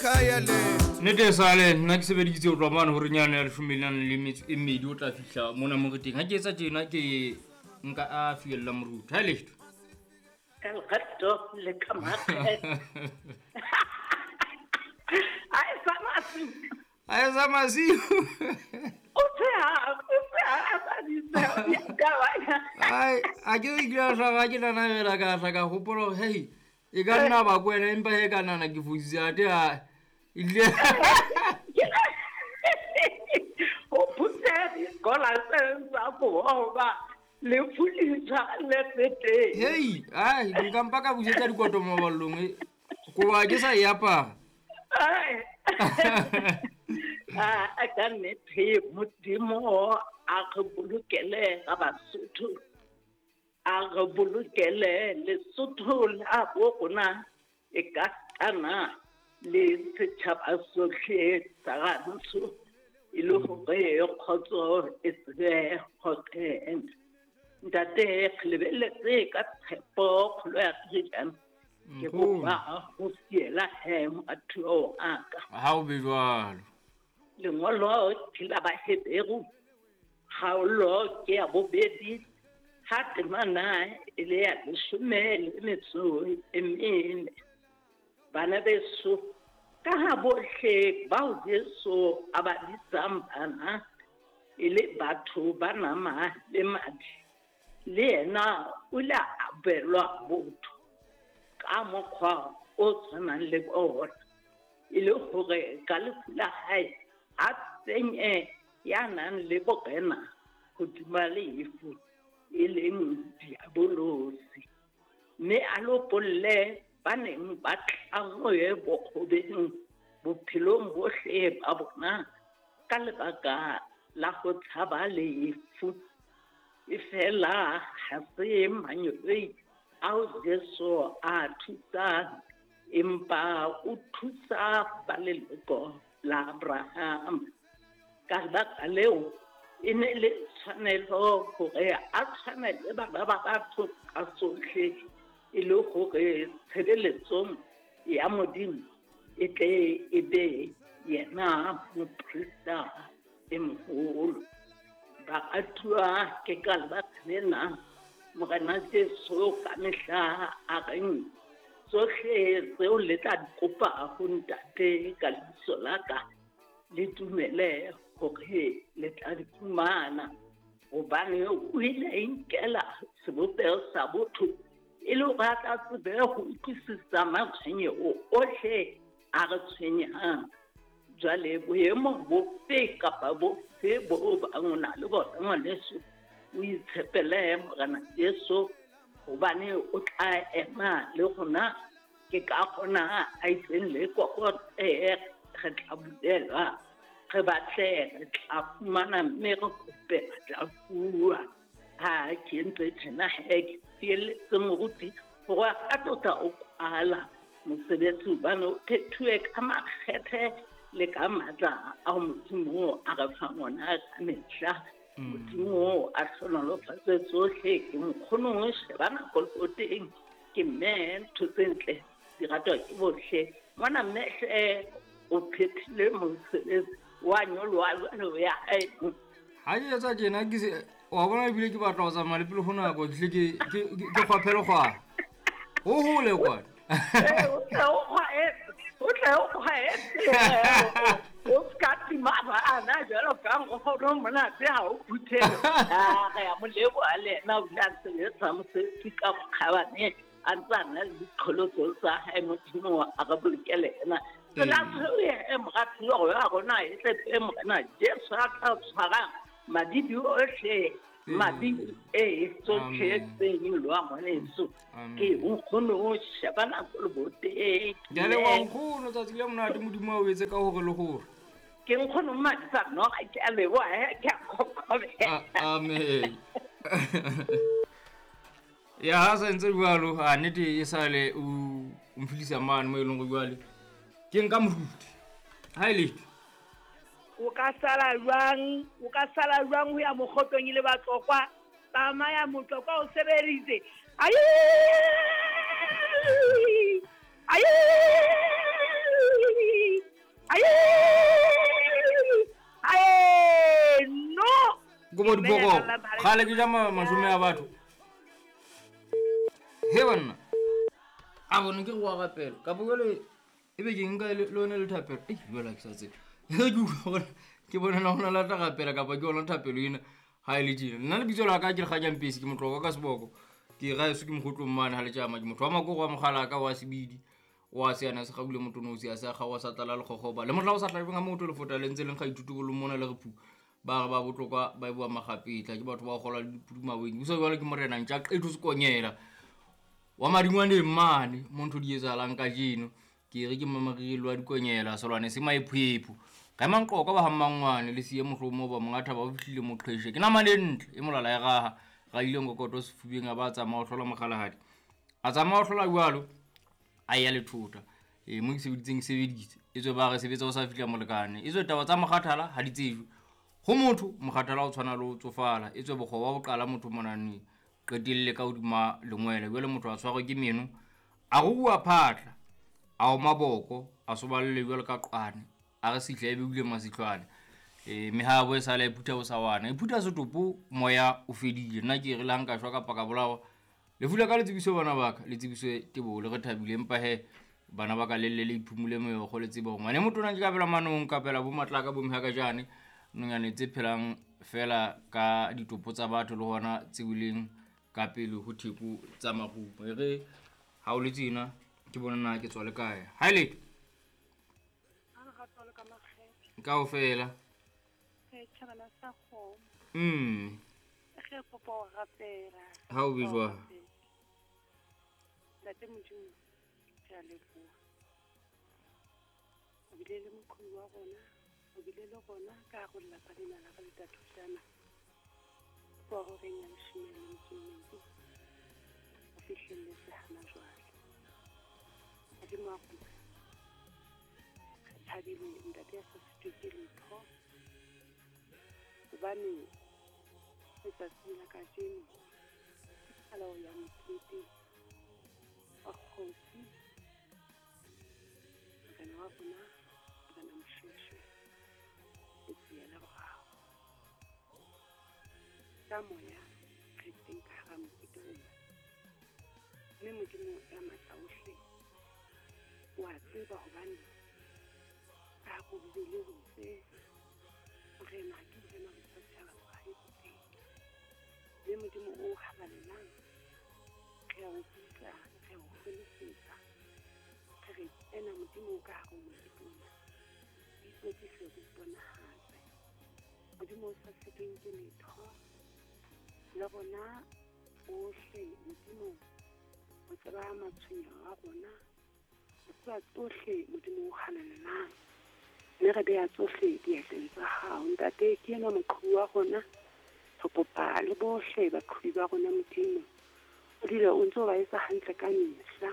Ekhaya lethu. Nnete sale nna ke sebeditse ho tloha mane hore nyane ya leshome le nang le metso e mmedi o tla fihla mona mo re teng. Ha ke etsa tjena ke nka a fiella moruti. Ha e letho. Ka lerato le ka makgethe. A e sa masiu. A e sa masiu. O tsheha, o tsheha a sa di tsheha, di a kabanya. Ai, a ke re ke a hlaba ke nanabela ka hla ka hopola hore hei e ka nna ba ko wena empa he ka nana ke fositse ate a ile O phutse dikola tse tsa koba lefu le tshwarelletse teng. Hei, ai nka mpa ka busetsa dikoto maballong e. Koba ke sa e apara. Ai. A ka nnete Modimo a re bolokele ga Basotho. A re bolokele Lesotho la bo rona e ka tana le setjhaba sohle sa rantsho e le hore kgotso e tsebe ho kena. Ntate, re lebelletse ka tshepo kgolo ya Freedom. Ke kopa ho fiela he morathuo wa ka. Ha o be jwalo. Lengolo ke la Baheberu, kgaolo ke ya bobedi, ha temana e le ya leshome le metso e mene. Bana beso, ka ha bohle bao Jesu a ba bitsang bana e le batho ba nama le madi, le yena o ile a abelwa botho ka mokgwa o tshwanang le bona, e le hore ka lefu la hae a tsenye ya nang le borena hodima lefu, e leng diabolosi, mme a lopolle ba neng ba tlanngwe bokgobeng bophelong bohle ba bona ka lebaka la ho tshaba lefu. E fela ha se mangeloi ao Jesu a thusang, empa o thusa ba leloko la Abraham. Ka lebaka leo e ne le tshwanelo hore a tshwane le bana ba batho ka sohle, e le hore tshebeletsong ya Modimo e tle e be yena moprista e moholo. Baratuwa, ke ka lebaka lena Morena Jesu ka mehla a reng tsohle tseo le tla di kopa ho Ntate ka lebitso la ka, le dumele hore le tla di fumana, hobane o ile a inkela sebopeho sa botho e le hore a tla tsebe ho utlwisisa matshwenyeho ohle a re tshwenyang. Jwale boemo bofe kapa bofe bo bang o na le bona ngwaneso, o itshepele Morena Jesu, hobane o tla ema le rona. Ke ka kgona a itseng le kokote, re tla bulelwa, re batle, re tla fumana, mme re kope, re tla fuwa. Ha ke entse tjena he, ke fielletse moruti hore a tlo tla o kwala mosebetsi, hobane o phethuwe ka makgethe le ka matla ao Modimo a re fang ona ka mehla. Modimo a hlohonolofatse tsohle. Ke nkgono o sheba nako le teng, ke mme ntho tse ntle di ratwa ke bohle. Mona mme hle o phethile mosebetsi wa nyoloha jwale o ya hae. Ha ke etsa tjena ke se wa bona ebile ke batla ho tsamaya le pele ho nako, ke tle ke kgwaphele kgwana. Ho hole kwana. O tle o kgwaetse, o tle o kgwaetse. O ska tima bana jwalo ka nkgono monate ha o phuthele. A re a mo leboha le yena, o ile a sebetsa mosebetsi ka bokgabane, a ntse a na le diqholotso tsa hae. Modimo a re bolokele yena. Tsela tseo e moratuwa wa rona e tletse Morena Jesu a tla tshwarang madibi ohle, madibi e tsohle tse nyolowang ngwaneso. Ke nkgono o sheba nako le boteng. Ke a leboha nkgono, tsatsi le monate Modimo a o etse ka hore le hore. Ke nkgono Madisa Noga, ke a leboha, ke a kokobela. Amen. Ya ha sa ntse jwalo, a nnete e sale o mfilisa mane mo e leng hore jwale ke nka moruti. Ha e letho. O ka sala jwang? O ka sala jwang ho ya mokgotong e le Batlokwa? Tsamaya Motlokwa o sebeditse. Ai! Ai! Kobo dipoko. Kgale ke ja mashome a batho. He banna. A bone ke go wa rapela. Kapo jwale e be ke nka le lone le thapelo. Ei, jwale ha ke sa tsebe. Ke utlwa hore ke bona na hona la tla rapela kapa ke yona thapelo ena ha e le tjena. Nna lebitso la ka ke Lekganyang Pesi, ke motlokwa ka seboko. Ke raeso ke mogotlong mane ha letjama, ke motho wa makoro wa mogala ka wa sebidi. Wa seana se gaule motonosi a se a gawa sa tlala lekgogoba. Le mohla o sa tlabeng ha motho lefota le ntse leng ga ithuto bo le mona le re phu. Ba re ba botlokwa ba bua magapetla ke batho ba gola le dipudumaweng. Busa jwale ke morena ntja qetho sekonyela. Wa madingwaneng mane mo ntho di etsahalang kajeno. Ke re ke mamarirelo wa dikonyela selwane se maephoepho. Ga manqoka ba ha mmangwane le siye mohlomo ba monga thaba o fihlile moqheshe. Ke nama le ntle e molala e raha. Ra ile ngokoto sefubeng a ba tsamaya o hlola mogalahadi. A tsamaya o hlola jwalo a ya lethota. Mo ke sebeditseng sebeditse. E tswe ba re sebetsa o sa fihla molekane. E tswe taba tsa mokgathala ha di tsejwe. Ho motho mokgathala o tshwana le ho tsofala. E tswe bokgoba bo qala motho monaneng. Qetelle ka hodima lengwele. Jwale motho a tshwarwe ke meno. A ruwa phatla. A o maboko, a soballe jwalo ka qwane. A re sihla e beile masihlwane. Mehabo e sala e phutha bosawana. E phutha setopo moya o fedile. Nna ke re le ha nka shwa kapa ka bolawa. Lefu la ka le tsebiso bana ba ka, le tsebiso teboho le re thabile empa he bana ba ka le lle le iphumule meokgo le tsebe hore ngwane motona ke ka pela manong, ka pela bo matlaka bo mehakajane, nonyane tse phelang fela ka ditopo tsa batho le hona tse weleng ka pele ho theko tsa marumo. E re ha o le tjena ke bona na ke tswa le kae. Ha e letho. Kaofela. Re kopa ho rapela. Ha o be jwang? Ntate Modimo, re a leboha. O bile le moqhobi wa rona, o bile le rona ka hare ho lelapa lena la ka le Thathojana. Ho horeng ya leshome le metso e mmedi, ho fihlelletse hana jwale. Modimo wa rona, re thabile ntate ya sa sitwe ke letho. Hobane letsatsing la kajeno ke qalo ya mokete wa kgosi, morena wa rona, morena Moshoeshoe, letsia la boraro. Ka moya re teng ka hara mokete ona. Mme Modimo ya matla ohle o a tseba hobane ka hare ho Bibele ho itse morena ke morena wa setjhaba sa hae teng. Mme Modimo o halalelang re a o bitsa, re a o hwelesetsa, re re ena Modimo ka hare ho mokete ona. O itlotlise, o iponahatse. Modimo o sa sitweng ke letho. Le rona bohle Modimo o tseba matshwenyeho a rona. O tseba tsohle Modimo o halalelang. Mme re beha tsohle diatleng tsa hao. Ntate ke enwa moqhobi wa rona. Re kopa le bohle baqhobi ba rona Modimo. O dule o ntso ba etsa hantle ka mehla.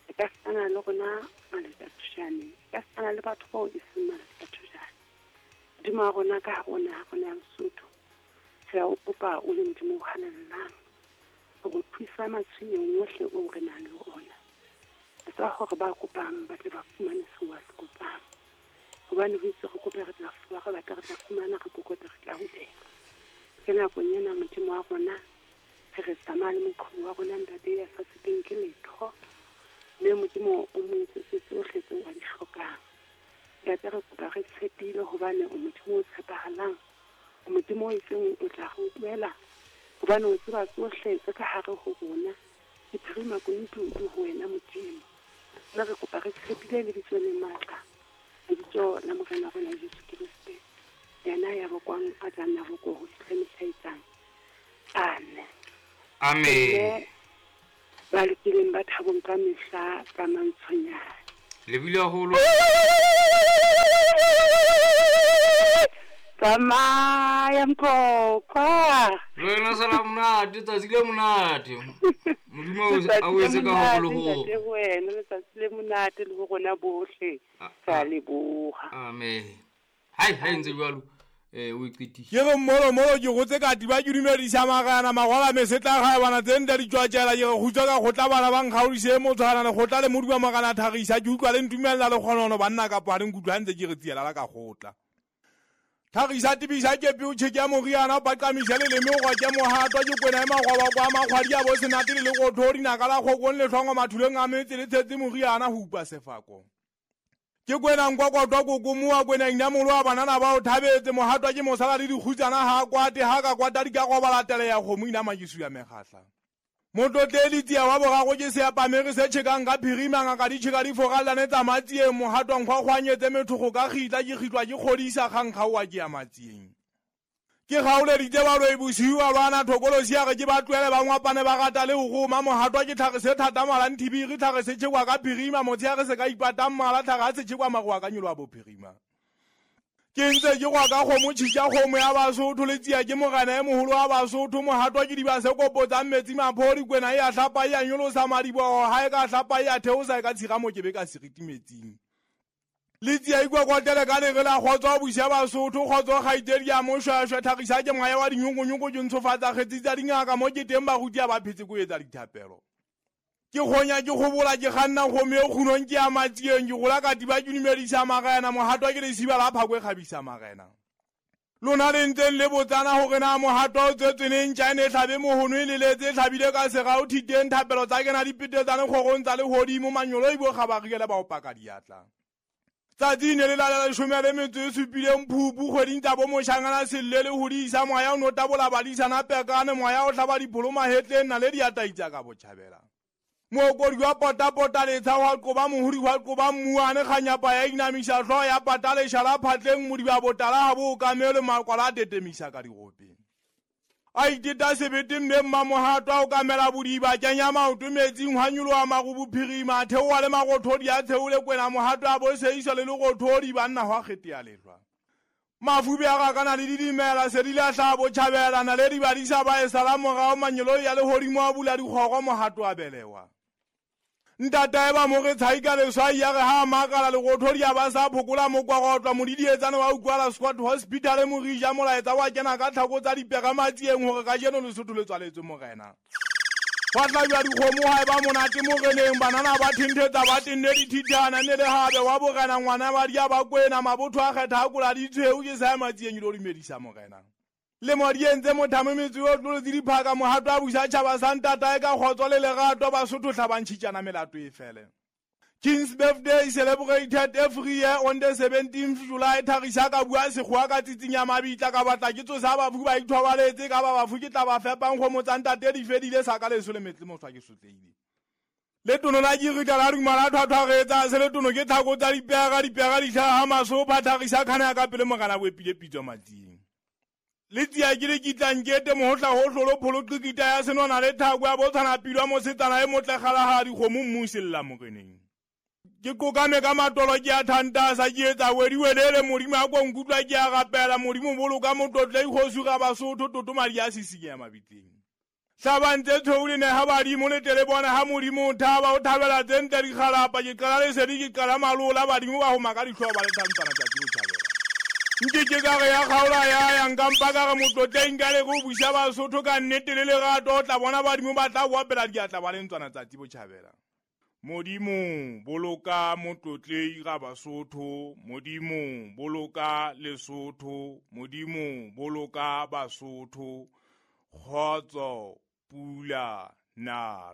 E ka sana le rona Maletsothojane. E ka sana le batho bao e seng Maletsothojane. Modimo wa rona ka hare ho naha rona ya Lesotho. Re a o kopa o le Modimo o halalelang. Hore o thusa matshwenyehong ohle oo re nang le ona. Etsa hore ba kopang ba tle ba fumane seo ba se kopang. Hobane ho itse re kope re tla fuwa, re batla re tla fumana, re kokote re tla hulela. Ke nakong ena Modimo wa rona re re tsamaya le moqhobi wa rona ntate ya sa sitweng ke letho. Mme Modimo o mo etsetse tsohle tseo a di hlokang. Ntate re kopa re tshepile hobane o Modimo o tshepahalang. O Modimo o itseng o tla re utlwela hobane o tseba tsohle tse ka hare ho rona. Diphiri makunutu di ho wena Modimo. Mme re kopa re tshepile lebitso le matla. Lebitso la Morena rona Jesu Kreste. Yena ya bokwang a tla nna boko ho fihla mehla e tlang. Amen. Amen. Ba lokileng ba thabong ka mehla ka mantshonyane. Lebile haholo. Tsamaya Mqoqwa. Le wena sala monate, tsatsi le monate. Modimo a o etse ka haholo ho. Ntate ho wena, letsatsi le monate le ho rona bohle. Re a leboha. Amen. Hai, hai ntse jwalo. O e qetile. Ke re mmolo molo ke gotse ka tiba ke dumedisa magana magwala mesetla ga bana tse nda di tswatjela ke re kgutsa ka kgotla bana ba nkgaodise motshwana le kgotla le moduma magana thagisa ke utlwa le ntumella le kgonono banna kapa ha le nkutlwa ntse ke re tsiela la ka kgotla. Tlhagisa tebisa kepe o tšheke ya moriana o paqamiša leleme o gwa ke mohatwa ke kwena e magwaba kwa makgwadi a bo senate le lekotho dinaka la kgokong le tlhongo mathuleng a metse le tshetse moriana go upa sefako. Ke kwena nkwakotwa kokomoa kwena inamolo wa banana ba o thabetse mohatwa ke mosala le dikgutsana ha kwate ha ka kwata di ka go tele ya kgomo inama ke suya megatla. Motlotleli tsia wa borago ke seapamere se tšhekang ka phirima ngaka di tšheka di foralane tsa matsieng mohatwa nkgwakgwanyetse methogo ka kgitla ke kgitlwa ke kgodisa kgankgaowa ke ya matsieng. Ke gaoleditse baloi bosiu ba lwana thokolosi ya re ke ba tlohele ba ngwapane ba rata le go goma mohatwa ke tlhage se thata malang thibiri tlhage se tšhekwa ka phirima motshegare se ka ipatang mala tlhage a se tšhekwa magoa ka nyolo wa bophirima. Ke ntse ke gwa ka kgomo tšhitša kgomo ya Basotho le tsia ke mogana e mogolo wa Basotho mohatwa ke diba se kopotsang metsi maphodi kwena e a hlapa e a nyolosa madibogo ha e ka hlapa e a theosa e ka tshira mokebe ka seriti metsing. Le tsia ikwakwatele ka lere la kgotso buša Basotho kgotso kgaitsedi ya mošwešwe tlhagisa ke moya wa dinyokonyoko ke ntshofatsa kgetsi tsa dingaka mo ke teng baruti a ba phetse ko etsa dithapelo. Ke kgonya ke gobola ke kganna kgomo e kgunong ke ya matsieng ke gola ka tiba ke dumedisa magena mohatwa ke lesiba la phako e kgabisa magena. Lona le ntseng le botsana hore na mohatwa o tswetswe neng tja e ne hlabe mohono e leletse e hlabile ka sera o thiteng thapelo tsa kena dipetetsane kgorong tsa lehodimo manyolo e bo kgabarile ba o paka diatla. Tsatsi ne le la 17 phupu kgweding tsa bo moshangana selle le hodisa moya o no tabola badisana pekane moya o hlaba dipholo mahetleng na le diataitsa ka botjhabela. Mookodi wa potapota letsha wa qoba mohuri wa qoba mmuane kganyapa ya inamisa hlooho ya pata leshala phatleng modiba botala ha bo okamele makwala a tetemisa ka diropeng. A iteta sebete mme mmamohatwa o kamela bodiba kenya maoto metsing hwa nyoloha maru bophirima a theoha le marothodi a theole kwena mohatwa a bo seiswa le lerothodi banna hwa kgete ya lehlwa. Mafube a rakana le didimela se di lahla botjhabela na le dibadisa ba e sala morao manyeloi ya lehodimo a bula dikgoro mohatwa a belewa. Ntatae ba mo re tshaika leswai ya re ha makala lerothodi a ba sa phokola mokwagotwa modidietsane wa utlwala Squad Hospital morija molaetsa wa kena ka tlhako tsa dipega matsieng hore kajeno Lesotho le tswaletswe morena. Hwa hlajwa dikgomo ha eba monate moreneng banana ba thenthetsa ba tenne dithitana ne le habe wa borena ngwana ba dia ba kwena mabotho a kgetha a kola ditshweu ke sa matsieng lo dumedisa morena. Le modi entse mothamo metsi o tlolotse diphaka mohato a busa tjhaba sa ntatae ka kgotso le lerato Basotho hlabantšhitšana melato e fele. King's birthday celebrated every year on the 17th July thagisa ka bua sekgowa ka tsitsinya mabitla ka batla ke tsosa bafu ba ithobaletse ka ba bafu ke tla ba fepang kgomo tsa ntate di fedile sa ka leso le metle moswa ke sotleile. Le tono la jirita la duma la thwathwaretsa se le tono ke tlhako tsa dipega dipega di hlaha masopha thagisa khana ya ka pele mogana bo epile pitso matsing. Le tsia ke le kitlang kete mohotla ho hlolo pholo qikita ya senona le thako ya botshwana pilwa mosetsana e motle kgalahadi kgomo mmusella moreneng. Ke kokame ka matolo ke a thantasa ke etsa wediwelele modimo a ko nkutlwa ke a rapela modimo boloka motlotle ikgosi ga Basotho toto madi a sisinya mabitleng. Hlabantse tshweu le neha badimo le tle le bona ha modimo o thaba o thabela tse ntle dikgalapa ke qala lesedi ke qala malola badimo ba homa ka dihlooho ba le thantsana tsatsi botjhabela. Nke ke ka re ya kgaola ya ya nka mpa ka re motlotleng ka le go buša Basotho ka nnete le lerato o tla bona badimo ba tla boapela diatla ba le ntswana tsatsi botjhabela. Modimo boloka motlotlei ga Basotho, Modimo boloka Lesotho, Modimo boloka Basotho, kgotso pula na.